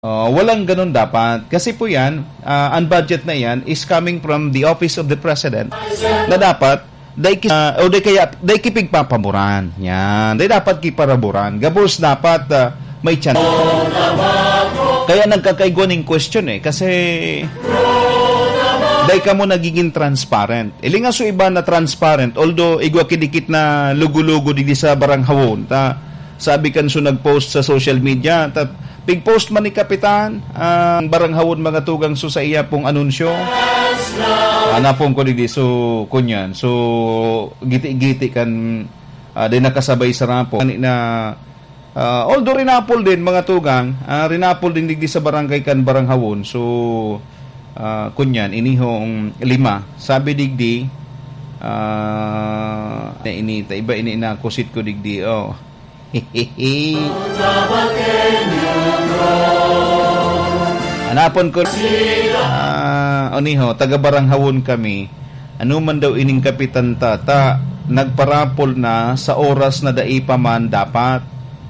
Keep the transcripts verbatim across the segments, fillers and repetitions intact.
Oh, walang ganun dapat. Kasi po yan, ah, ang budget na yan is coming from the office of the president na dapat dai ki-, ah, o di kaya, dai kipigpapaboran. Yan. Dai dapat kiparaboran. Gabos dapat, ah, may tiyan. Kaya nagkakaigwa ning question eh. Kasi dai kamo nagiging transparent. Ilinga so iba na transparent, although igwa kidikit na lugo-lugo digdi sa baranghawon. Ta, sabi kan so nag-post sa social media, ta, pig-post man ni Kapitan, ang baranghawon mga tugang so sa iya pong anunsyo. Hanapon ko digdi, so, kunyan. So, giti-giti kan, ah, di nakasabay sa rapo. Ani na, ah, although rinapol din, mga tugang, ah, rinapol din digdi sa barangay kan baranghawon. So, ah, kunyan, inihong lima. Sabi digdi, ah, na ini, ta iba ini inakusit ko digdi, oh. Hanapon ko, ah, oniho, taga baranghawon kami. Ano man daw ining kapitan ta, ta, nagparapol na sa oras na dai pa man dapat.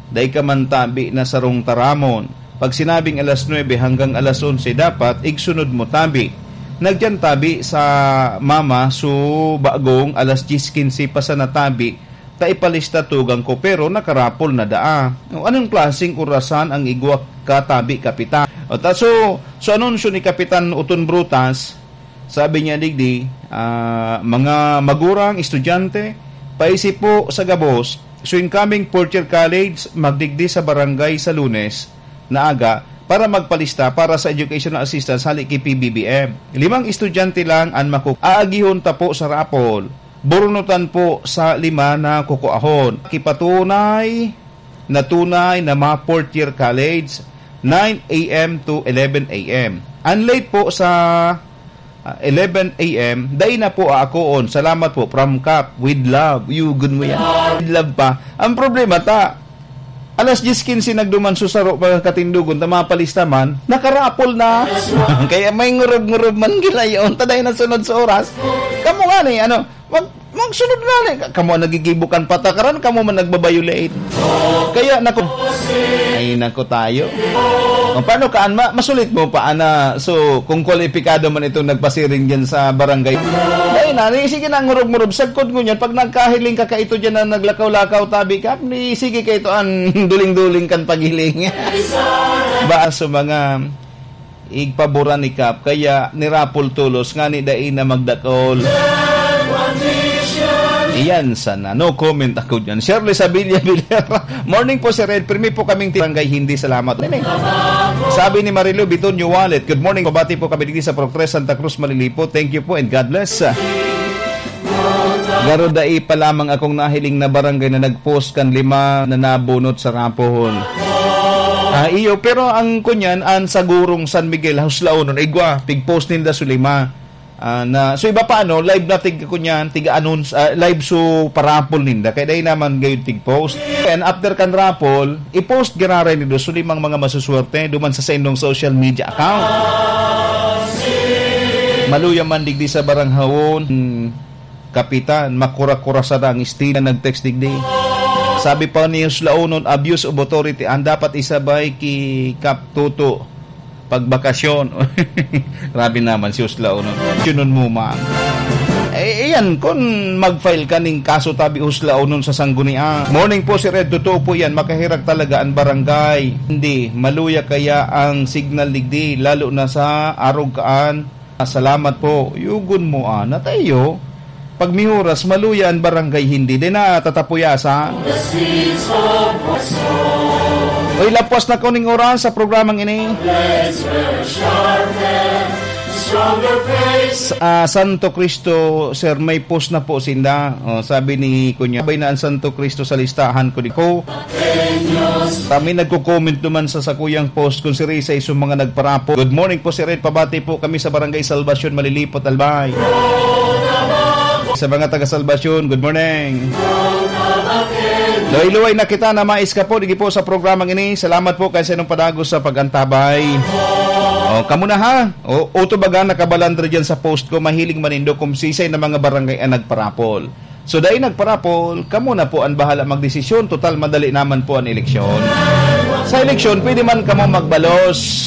Dai ka man tabi na sarong taramon. Pag sinabing alas nuebe hanggang alas onse dapat, igsunod mo tabi. Nagyan tabi sa mama, so bagong alas dyes kinse pa sana tabi, ta ipalista tugang ko, pero nakarapol na daa. O, anong klaseng orasan ang igwa ka tabi, Kapitan? O, ta, so, so anunsyo ni Kapitan Uton Brutas, sabi niya digdi, ah, mga magurang, estudyante, paisip po sa gabos, so incoming fourth year college, magdigdi sa barangay sa Lunes na aga para magpalista para sa educational assistance hali ki P B B M. Limang estudyante lang an maku-, aagihon ta po sa raffle. Burunutan po sa lima na kukuahon. Kipatunay na tunay na mga fourth year college, nine a m to eleven a m. Ang late po sa, ah, eleven a m, dai na po aakoon. Salamat po, from Cap, with love. Yugon mo yan. With love pa. Ang problema ta, alas dyes kinse nagduman, susaro pa katindogon, ta mapalista man, nakarapol na. Kaya may ngurob-ngurob man gilayon, ta dai na sunod sa oras. Kamo nga ni, ano, mag-, magsunod na ni. Kamo ang nagigibo kan patakaran, kamo man nagbabayolate. Kaya, naku, ay, naku tayo. O, paano ka, an-, ma-, masulit mo pa, ana? So, kung kwalipikado man itong nagpasiring dyan sa barangay, dai na, ni, sige na, ngurob-ngurob, sagkod ngunyan, pag nagkahiling ka kaito dyan na naglakaw-lakaw, tabi ka, ni, sige kaito an duling-duling kan paghiling. Ba, sa mga igpaboran ni Kap, kaya nirapol tolos, ngani dai na magdakol. Iyan sana. No comment ako dyan. Shirley Sabilla Villar. Morning po, Sir Ed. Pirmi po kaming ti-, barangay, hindi. Salamat. Nene. Sabi ni Marilu Bitonio Wallet, "Good morning. Pabati po kami dito sa Pro Tres Santa Cruz, Malilipo. Thank you po and God bless." Garo dai pa lamang akong nahiling na barangay na nag-post kan lima na nabunot sa raffle. Ah, iyo, pero ang kunyan, an sa Gurong San Miguel, Huslaonon, igwa, pig-post ninda su lima. Ah, na, so iba pa, ano, live na tig-, kunyan, tiga-announce, ah, live su parapol ninda. Kaya dai naman gayon tig-post. And after kan raffle, i-post giraray nindo su limang mga masuswerte duman sa saindong social media account. Maluya man digdi sa baranghawon, hmm, Kapitan, makura-kura sana ang estilo. Nag-text digdi. Sabi pa ni Huslaonon, "Abuse of authority ang dapat isabay ki Kap Toto pagbakasyon." Grabe naman si Huslaonon. Yun mo, ma. Eh, iyan, kung mag-file ka ning kaso tabi Huslaonon sa Sangguniang. Morning po, Sir Ed. Totoo po yan. Makahirak talaga ang barangay. Hindi. Maluya kaya ang signal digdi, lalo na sa Arog kaan. Salamat po. Yugon mo, ah, na tayo. Pag may oras, maluya ang barangay, hindi din na tatapuyasan. Uy, lapos na kuning oras sa programang ini. S-, ah, Santo Cristo, sir, may post na po sinda. Oh, sabi ni Kunya, "Bay na ang Santo Cristo sa listahan ko, di ko." Kami nagko-comment naman sa sakuyang post kung si Risa iso mga nagparapo. Good morning po, Sir Ed. Pabati po kami sa Barangay Salvacion, Malilipot, Albay. Sa mga taga Salvacion, good morning. Luway-luway na kita na mais ka po, digi po sa programang ini. Salamat po kay sa inyong padagos sa pag-antabay. O, kamo na ha. O, uto baga nakabalandra dyan sa post ko. Mahiling man nindo kung sisay na mga barangay ang nagparapol. So, dai nagparapol, kamo na po ang bahala magdesisyon. Total, madali naman po ang eleksyon. Sa eleksyon, pwede man kamo magbalos.